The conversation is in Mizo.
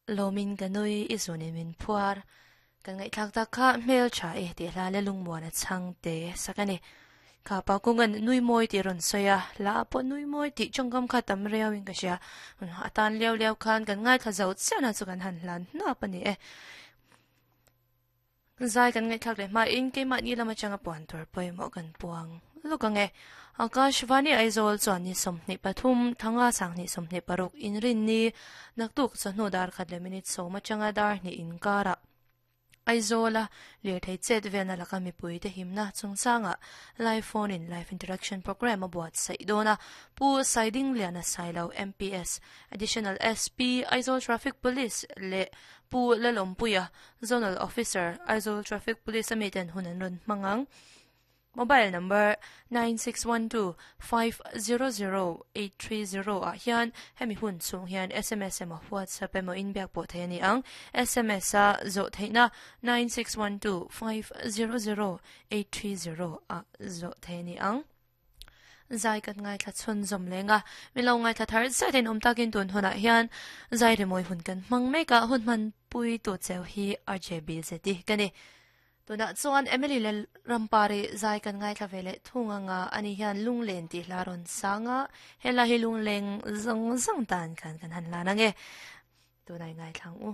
Lawmin ka nui i zunin min phuar. Kan ngaihthlak tak kha hmel tha e tih hla le lungmuan a chhang te sak a ni. Kha pa kungan nui mawi tih rawn sawi a, hla ah pawh nui mawi tih tawngkam kha tam riau in ka hria. A tan liau liau khan kan ngaithla zo chiah na chu kan han hlan hnap a ni e. Zai kan ngaihthlak leh hmain keimahni lam atanga puan tur pawimawh kan puang lawk ang e. Akashvani Aizawl chuan ni 23, thanga sanghnih 26 inrinni naktuk chawhnu dar khat leh minute sawm atanga dar hnih inkarah Aizawla lirthei chet velna laka mipuite himna chungchangah live phone in live interaction programme a buatsaih dawn a. Pu Saidingliana Sailo MPS, Additional SP, Aizawl Traffic Police leh Pu Lalawmpuia, Zonal Officer, Aizawl Traffic Police a miten hun an rawn hmang ang. Mobile number 9612500830 ah hian hemi hun chhung hian sms emaw WhatsApp emaw inbiak pawh theih a ni ang. Sms a zawh theihna 9612500830 ah zawh theih a ni ang. Zai kan ngaithla chhun zawm leng a, min lo ngaithla thar zet in awm takin tun hunah hian zai rimawi hun kan hmang mek a, hun hman pui tu cheu hi RJBZI ka ni. Tunah chuan Emily leh Rampari zai kan ngaithla ve leh thung anga ani hian lunglen tih hla rawn sang a, helai hi lungleng zawng zawng tan khan kan han lan ange. Tunah i ngaithla ang u.